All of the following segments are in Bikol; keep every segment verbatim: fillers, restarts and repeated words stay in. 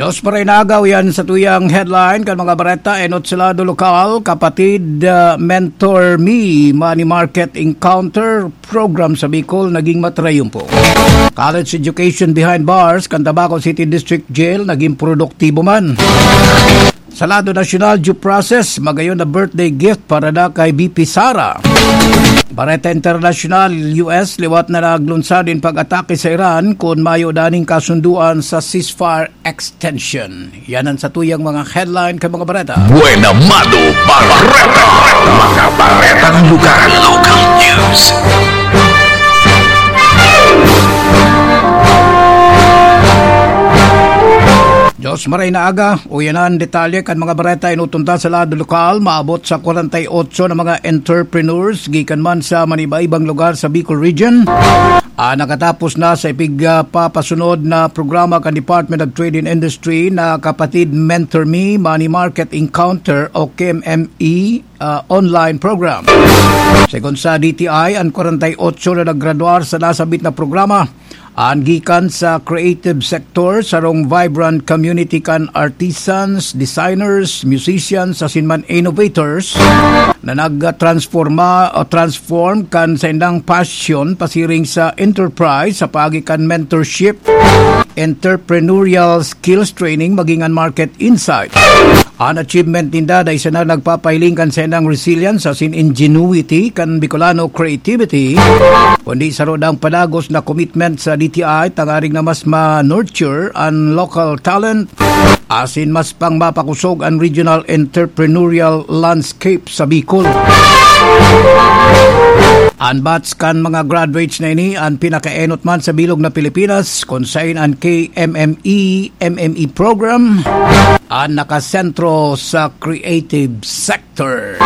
Dos pa rin agaw yan sa tuyang headline kan mga bareta. Enot sa lado lokal, kapatid, ah, Mentor Me, Money Market Encounter Program sa Bicol naging matrayumpo. College education behind bars kan Tabaco City District Jail naging produktibo man. Sa lado nasyonal, due process, magayon na birthday gift para na kay B P Sara. Bareta Internasyonal, U S, liwat na naglunsad in pag-atake sa Iran kun mayo daning kasunduan sa ceasefire extension. Yan ang satuyang mga headline kan mga bareta. Buena Mano Bareta. Mga baretang lugar. Local news. Diyos maray na aga, uyanan detalye kan mga bareta inutunda sa lado lokal, maabot sa kwarenta y otso na mga entrepreneurs gikan man sa maniba-ibang lugar sa Bicol Region. Ah, nakatapos na sa ipig, ah, papasunod na programa kan Department of Trade and Industry na Kapatid Mentor Me Money Market Encounter o K M M E, ah, online program. Segun sa D T I, an kwarenta y otso na naggraduar sa nasabit na programa, an gikan sa creative sector, sarong vibrant community kan artisans, designers, musicians, asin man innovators na nagtransforma o transform kan saindang passion pasiring sa enterprise sa paagi kan mentorship, entrepreneurial skills training, maging an market insight. An achievement ninda dai sana nagpapahiling kan saindang resilience asin ingenuity kan Bicolano creativity, kundi saro dang padagos na commitment sa D T I tangaring na mas ma-nurture an local talent asin mas pang mapakosog an regional entrepreneurial landscape sa Bicol. An batch kan mga graduates na ini an pinakaenot man sa bilog na Pilipinas, kun sain an K M M E, M M E program an nakasentro sa creative sector.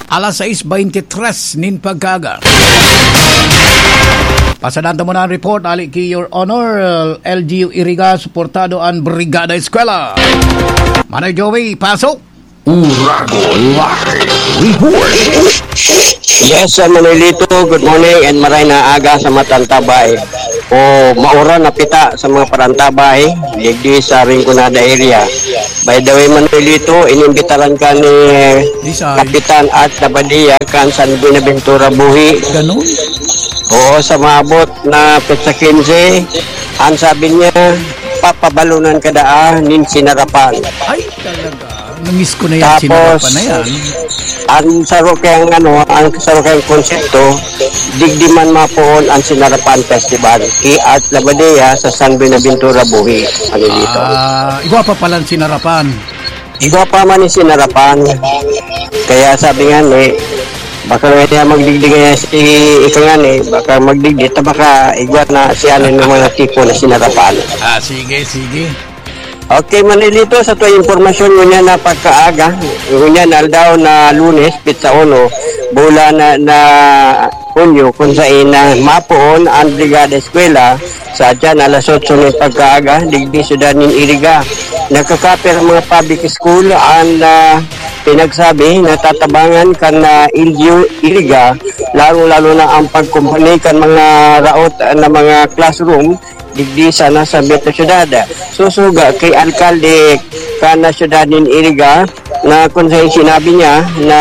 Alas sais beintitres nin pagkaaga. Pasadan ta muna an report, ali ki Your Honor, L G U Iriga, suportado an Brigada Eskwela. Manay Joey, pasok! Urago Live Report. Yes, Sir Manolito, good morning and maray na aga sa Matantabay. O, mauran na pita sa mga Parantabay, digdi sa Rinconada area. By the way, Manolito, inimbitaran ka ni Isay. Kapitan Art Labadia kan San Buenaventura Buhi. Ganun? Oo, sa maabot na petsa quince, ang sabi niya, papabalunan ka daa nin sinarapan. Ay, talaga. Namiss ko na yan, Tapos, sinarapan na yan. Ang saro kayang, ano, ang saro kayang konsepto, digdi man mapoon ang Sinarapan Festival, ki Art Labadea sa San Buenaventura, Buhi, ano dito. Ah, igwa pa palan sinarapan. Igwa pa man yung sinarapan. Kaya sabi nga ni, baka nga niya magdigdi nga si ika nga ni, baka magdigdi, ta baka igwa na si ano ng mga tipo na sinarapan. Ah, sige, sige. Okay, Manilito, sa tuwang impormasyon, ngunyan na pagkaaga, ngunyan na aldaw na Lunes, petsa uno, bulan na, na Hunyo, kung sain na mapoon ang Brigada Eskwela sa dyan alas otso ng pagkaaga, digdi syudad nin Iriga. Nagkakaper ang mga public school, ang, ah, pinagsabi na tatabangan kan, ah, L G U Iriga, lalo-lalo na ang pagkumpuni kan mga raot, ah, na mga classroom, digdi sana sa Metro Syudad. Susuga kay alkalde kan syudad nin Iriga na kun sa sinabi niya na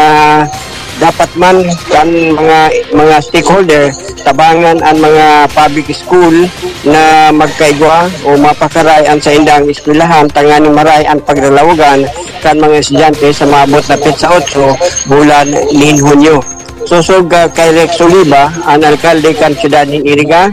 dapat man kan mga, mga stakeholder tabangan ang mga public school na magkaigwa o mapakaray ang saindang eskwelahan tanganing maray ang paglalawagan kan mga estudyante sa maabot na petsa otso bulan nin Hunyo. Sosog, ah, kay Rex Oliva, ang alkalde kan syudad nin Iriga,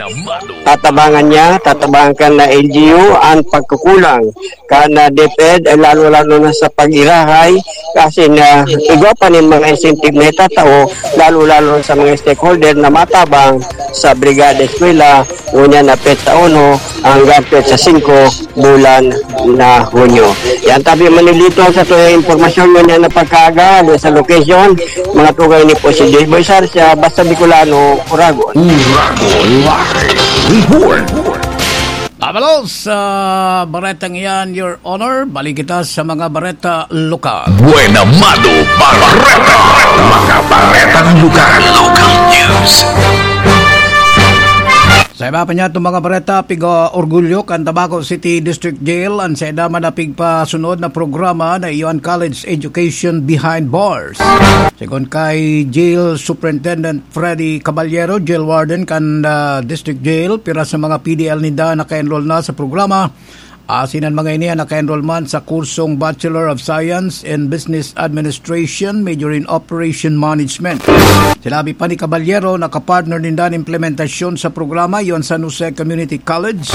tatabangan niya, tatabangan kan na L G U ang pagkukulang kan na DepEd, eh, lalo-lalo na sa pag-irahay, kasi na igwa pa nin mga incentive na itatao, lalo-lalo sa mga stakeholder na matabang sa Brigada Eskwela, ngunyan na petsa uno hanggang petsa singko, bulan na Hunyo. Yan tabi, Manilito, sa tuwing impormasyon ngunyan na pagkaaga, sa location, mga tugay ni po si Joy Boy Sarsia, Basta Bicolano, Uragon. Uragon Live Report. Abalos sa baretang iyan, Your Honor, balik kita sa mga bareta lokal. Buena Mano Bareta, mga baretang lugar. Local news. Sa iba pa niya itong mga bareta, piga-orgulyo kan Tabaco City District Jail an sainda man na pigpasunod na programa na iyo an College Education Behind Bars. Segun kay Jail Superintendent Freddy Caballero, Jail Warden kan ah, District Jail, pira sa mga P D L ninda naka-enroll na sa programa. Asin an mga ini an naka-enroll man sa kursong Bachelor of Science in Business Administration, major in Operation Management. Sinabi pa ni Caballero, nakapartner ninda an implementasyon sa programa, iyo an San Jose Community College,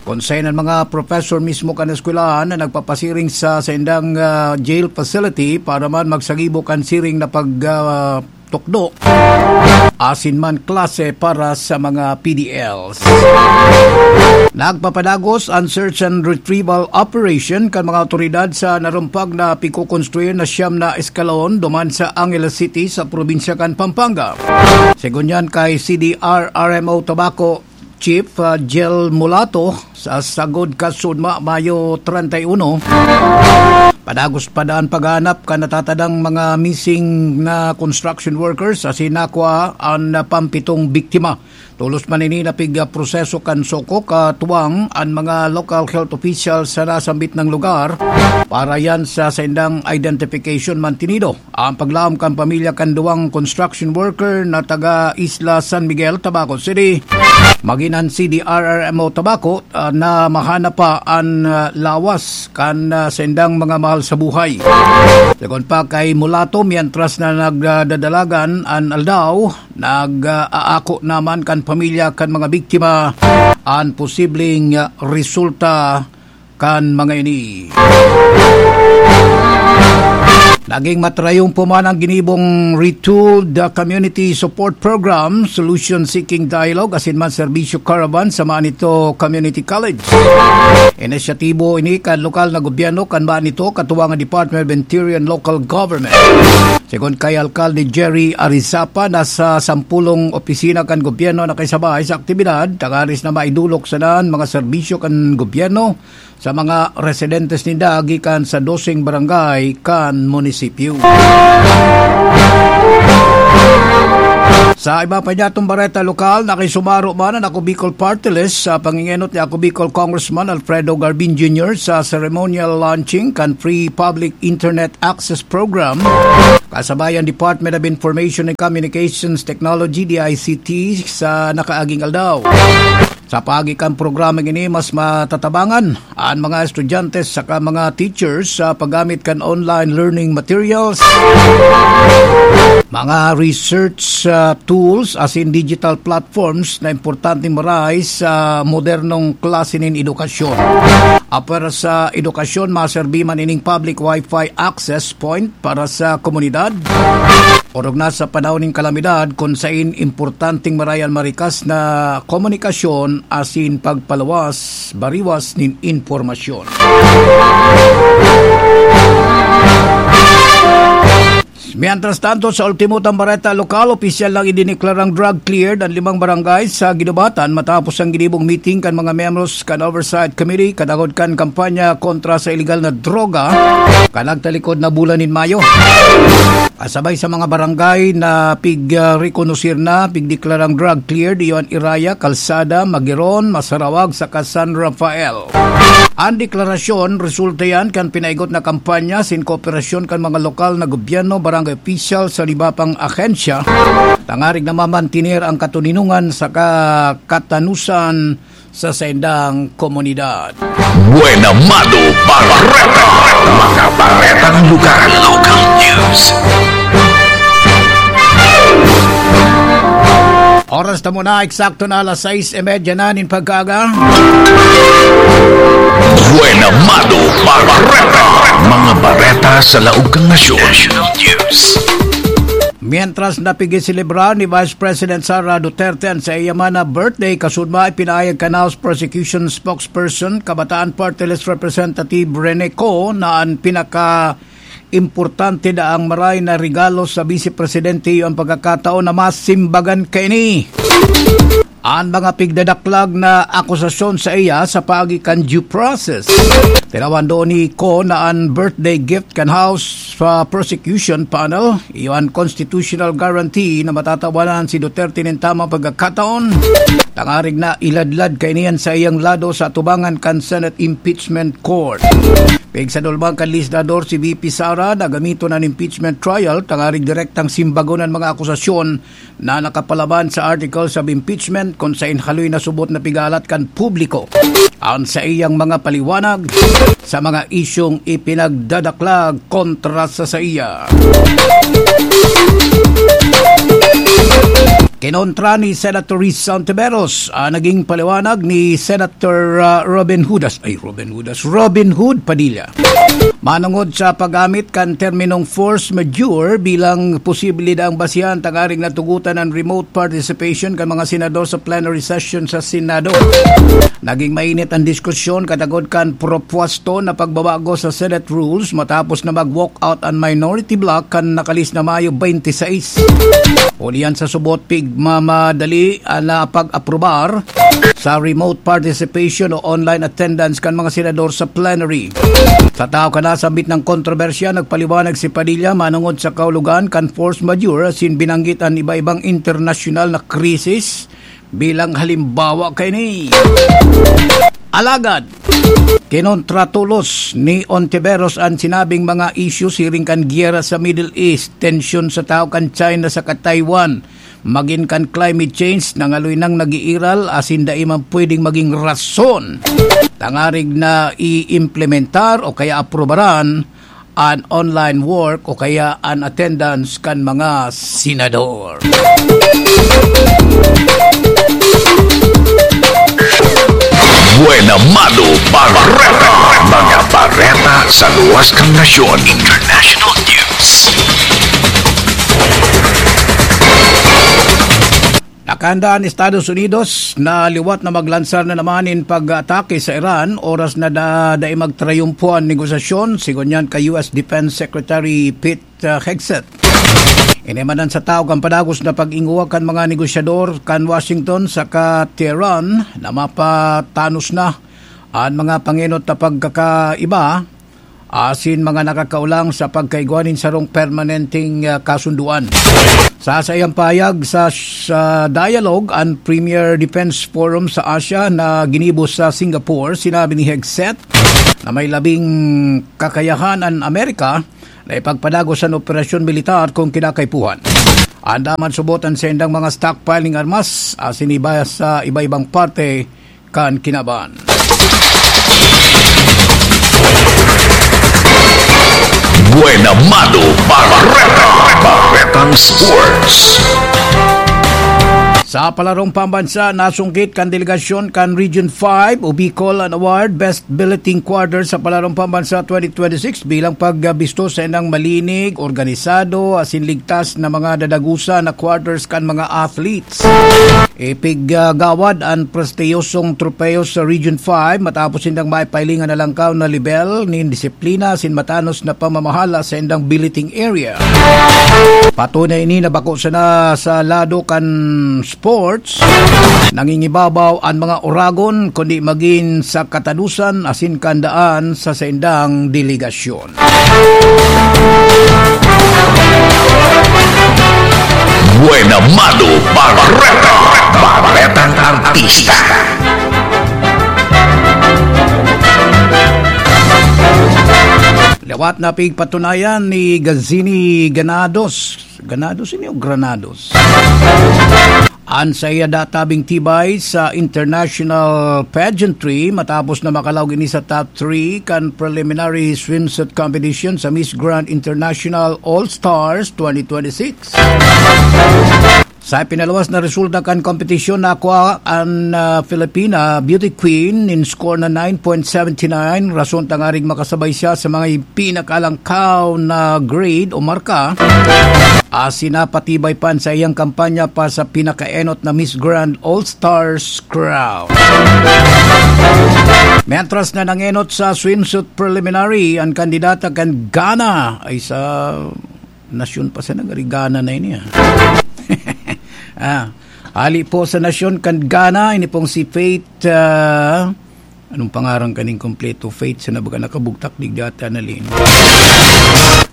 kun saen an mga professor mismo kan eskwelahan na nagpapasiring sa saindang ah, jail facility para man magsagibo kan siring na pag ah, tukdo asin man klase para sa mga P D Ls. Nagpapadagos an search and retrieval operation kan mga awtoridad sa narumpag na pigkokonstruir na siyam na eskalon duman sa Angeles City sa probinsya kan Pampanga. Segun yan kay C D R R M O Tabaco, Chief ah, Jel Mulato, sa sagod kasudma, Mayo treinta y uno, padagos pa daan paghahanap kan natatadang mga missing na construction workers asin nakua an pampitong biktima. Tolos man ini na pigproseso kan SOCO, katuwang an mga local health officials sa nasambit na lugar para yan sa saindang identification mantinido. Ang paglaom kan pamilya kan duwang construction worker na taga Isla San Miguel, Tabaco City, magin an C D R R M O Tabaco ah, na mahanap pa an ah, lawas kan ah, saindang mga mahal sa buhay. Segun pa kay Mulato, mientras na nagdadalagan an aldaw, nag-aako naman kan pamilya kan mga biktima an posibleng ah, resulta kan mga ini. Naging matrayong po man ang ginibong Retooled Community Support Program, Solution Seeking Dialogue, asin man Serbisyo Caravan sa Manito Community College. Inisyatibo ini kan lokal na gobyerno kan Manito, katuwang ang Department of Interior and Local Government. Segun kay Alkalde Jerry Arizapa, nasa sampulong opisina kan gobyerno na kaisabay sa aktibidad, tanganing na maidolok sana an mga serbisyo kan gobyerno sa mga residentes ninda gikan sa doseng barangay kan munisipyo. Sa iba pa niya itong bareta lokal, nakisumaro man ang Ako Bicol Party List sa pangingenot ni Ako Bicol Congressman Alfredo Garbin Junior sa ceremonial launching kan Free Public Internet Access Program, kasabay ang Department of Information and Communications Technology, D I C T, sa nakaaging aldaw. Sa paagi kan programang ini, mas matatabangan an mga estudyante saka mga teachers sa paggamit kan online learning materials, mga research ah, tools asin digital platforms na importanteng maray sa modernong klase nin edukasyon. Apwera sa edukasyon, maserbi man ining public Wi-Fi access point para sa komunidad. Orog na sa panahon nin kalamidad, kun sain importanteng maray an marikas na komunikasyon asin pagpaluwas, bariwas nin impormasyon. Mientras tanto, sa ultimo tang bareta lokal, opisyal lang idineklarang drug cleared ang limang barangay sa Guinobatan matapos ang ginibong meeting kan mga miyembros kan Oversight Committee kadangog kan kampanya kontra sa iligal na droga kan nagtalikod na bulan nin Mayo. Kasabay sa mga barangay na pig-rekonosir na, pigdeklarang drug cleared, iyo an Iraya, Calzada, Magiron, Masarawag, saka San Rafael. An deklarasyon, resulta yan kan pinaigot na kampanya sin kooperasyon kan mga lokal na gobyerno, barangay opisyal sa iba pang ahensya, tanganing na mamantener ang katoninongan saka katanusan sa saindang komunidad. Buena Mano Bareta, mga baretang lugar, local news. Oras ta muna, eksakto na alas sais y media na nin pagkaaga. Buena Mano Bareta, mga bareta sa laog kan nasyon. National News. Mientras na pigselebrar ni Vice President Sara Duterte an saiya man na birthday, kasudma ipinahayag kan House Prosecution Spokesperson, Kabataan Party List Representative Rene Co, na an pinaka importante daang maray na regalo sa Vice Presidente iyo an pagkakataon na masimbagan kaini. an mga pigdadaklag na akusasyon sa iya sa paagi kan due process. Tinawan doon ni Ko na an birthday gift kan House pa prosecution panel, iyo an constitutional guarantee na matatawanan si Duterte nin tamang pagkakataon, tangarig na iladlad kaini an saiyang lado sa atubangan kan Senate Impeachment Court. Pigsadulman kan legislador si V P Sara na gamiton an impeachment trial tangarig direktang simbagon an mga akusasyon na nakapalaban sa articles of impeachment, kun saen haloy na subot na pigalat kan publiko an saiyang mga paliwanag sa mga isyung ipinagdadaklag kontra sa saiya. Kinontra ni Senator Risa Ontiveros ang naging paliwanag ni Senator, ah, Robin Hudas. Ay, Robin Hudas. Robin Hood Padilla. Manongod sa paggamit kan terminong force majeure bilang posible daang basihan tangaring natugutan an remote participation kan mga senador sa plenary session sa Senado. Naging mainit an diskusyon katagod kan propwesto na pagbabago sa Senate rules matapos na mag-walk out an minority bloc kan nakalis na Mayo twenty-six. Huli yan sa subot pigmamadali an pag-aprobar sa remote participation o online attendance kan mga senador sa plenary. Sa tahaw kan nasambit na kontrobersiya, nagpaliwanag si Padilla manongod sa kahulogan kan force majeure asin binanggit an iba-ibang internasyonal na krisis bilang halimbawa kaini. Alagad, kinontra tolos ni Ontiveros an sinabing mga isyu siring kan giyera sa Middle East, tensyon sa tahaw kan China saka Taiwan, magin kan climate change na ngaloy nang nag-iiral asin dai man pwedeng maging rason tangarig na i-implementar o kaya aprobaran an online work o kaya an attendance kan mga senador. Buena Mano Bareta. Mga bareta sa luwas kan nasyon. International news. Nakahanda an Estados Unidos na liwat na maglansar na naman nin pag-atake sa Iran, oras na da-, dai magtrayumpo an negosasyon, sigon yan kay U S Defense Secretary Pete, uh, Hegseth. Ini man an sa tahaw kan padagos na pag-ingowag kan mga negosyador kan Washington saka Tehran na mapatanos na an mga pangenot na pagkakaiba asin mga nakakaolang sa pagkaigwa nin sarong permanenteng, ah, kasundoan. Sa saiyang pahayag sa, sa dialogue an Premier Defense Forum sa Asia na ginibo sa Singapore, sinabi ni Hegseth na may labing kakayahan an Amerika na ipagpadagos an operasyon militar kung kinakaipuhan. Andaman subot an saindang mga stockpiling armas asin iba sa iba-ibang parte kan kinaban. Buena Mano Bareta. Baretang Sports. Sa palarong pambansa, nasungkit kan delegasyon kan Region five o Bicol an award Best Billeting Quarter sa palarong pambansa twenty twenty-six bilang pagbisto sa inang malinig, organisado, asin ligtas na mga dadagusa na quarters kan mga athletes. Ipiggagawad an prestiyosong tropeyo sa Region five matapos sindang maipailingan na langkaw na lebel nin disiplina asin matanos na pamamahala sa indang billeting area. Patunay ini na bako sana sa lado kan sports, nangingibabaw an mga oragon, kundi magin sa katadosan asin kandaan sa saindang delegasyon. Buena Mano Bareta. Baretang Artista. Lawat na pigpatunayan ni Gazini Ganados. Ganados ini o Granados? An saiya databing tibay sa international pageantry matapos na makalaog ini sa top three kan preliminary swimsuit competition sa Miss Grand International All Stars twenty twenty-six. Sa pinaluwas na resulta kan kompetisyon, nakua an, ah, Filipina Beauty Queen nin score na nine point seven nine, rason tangaring makasabay siya sa mga pinakalangkaw na grade o marka. Asin napatibay pa sa iyang kampanya pa sa pinakaenot na Miss Grand All Stars crown. Mientras na nangenot sa swimsuit preliminary, ang kandidata kan Ghana ay sa nasyon pa sa nagarigana na ini, ah. Ah, Hali po sa nasyon kan Ghana, ini pong si Faith, ah, anong pangaran kaning kompleto? Faith, sa nabaga nakabugtak digdi ata na lin.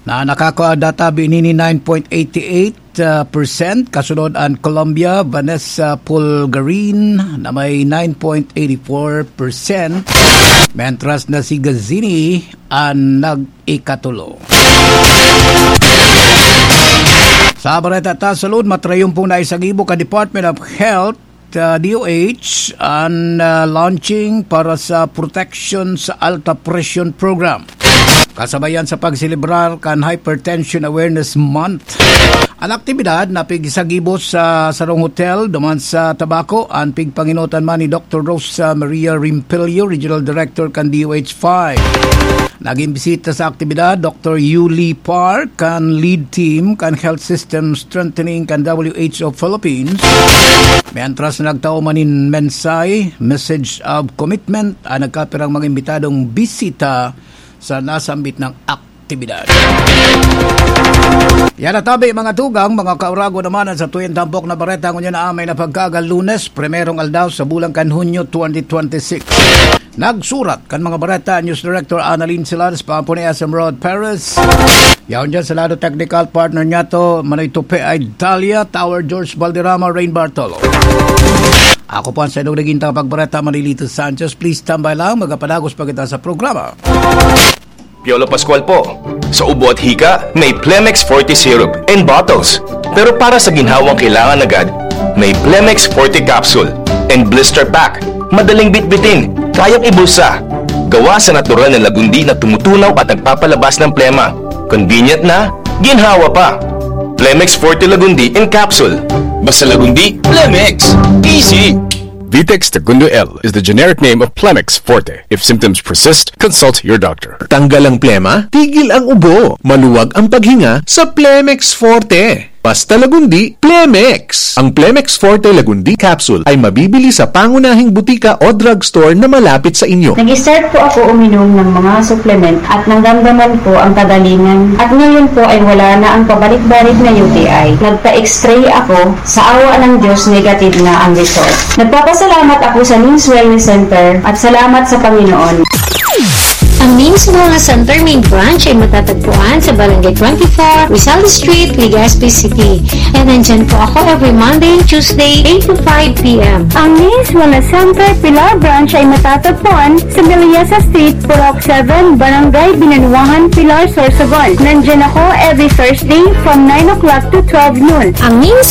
Na nakakadata binini nine point eight eight, ah, percent. Kasunod an Colombia, Vanessa Pulgarin na may nine point eight four percent. Mentras na si Gazini an nag-ikatulo. Sa bareta ta sa salud, matrayumpong naisagibo kan Department of Health, ah, D O H, an, ah, launching para sa protection sa alta presyon program. Kasabayan sa pagselebrar kan Hypertension Awareness Month. An aktibidad na pigsagibo sa sarong hotel duman sa Tabaco, an pigpangenotan man ni Doctor Rosa Maria Rimpelio, Regional Director kan D O H five. Naging bisita sa aktibidad, Doctor Yuli Park, kan lead team kan Health System Strengthening kan W H O Philippines. Mientras nagtao man nin mensahe, message of commitment, ang nagkapirang mga imbitadong bisita sa nasambit na aktibidad. Yan na tabi, mga tugang, mga kaurago naman, ang satuyang tampok na bareta ngunyan na amay na pagkaaga Lunes, primerong aldaw sa bulan kan Hunyo twenty twenty-six. Nagsurat kan mga bareta, News Director Annalyn Silares, Pampuni S M Rod Perez. Yaon dyan sa lado technical partner niya to, Manoy Tupe ay Dalia, Tower George Valderrama, Rain Bartolo. Ako po ang sa inyong naging tagapagbareta, Manilito Sanchez. Please tambay lang, magapadagos pa kita sa programa. Piolo Pascual po. Sa ubo at hika, may Plemex Forte Syrup and bottles. Pero para sa ginhawang kailangan agad, may Plemex Forte Capsule and Blister Pack. Madaling bitbitin, kayang ibulsa. Gawa sa natural na lagundi na tumutunaw at nagpapalabas ng plema. Convenient na, ginhawa pa. Plemex Forte Lagundi in Capsule. Basta Lagundi, Plemex. Easy! Vitex Tagundo L is the generic name of Plemex Forte. If symptoms persist, consult your doctor. Tanggal ang plema, tigil ang ubo, maluwag ang paghinga sa Plemex Forte. Basta Lagundi, Plemex! Ang Plemex Forte Lagundi Capsule ay mabibili sa pangunahing butika o drugstore na malapit sa inyo. Nag-start po ako uminom ng mga supplement at naramdaman ko ang kagalingan. At ngayon po ay wala na ang pabalik-balik na U T I. Nagpa-X-ray ako, sa awa ng Diyos, negative na ang result. Nagpapasalamat ako sa Nims Wellness Center at salamat sa Panginoon. Ang Nims Wellness Center main branch ay matatagpuan sa Barangay twenty-four, Rizal Street, Legazpi City. And nandyan po ako every Monday and Tuesday, eight to five p.m. Ang Nims Wellness Center Pilar Branch ay matatagpuan sa Villasa Street, Purok seven, Barangay Binanuahan, Pilar, Sorsogon. Nandyan ako every Thursday from nine o'clock to twelve noon. Ang Nims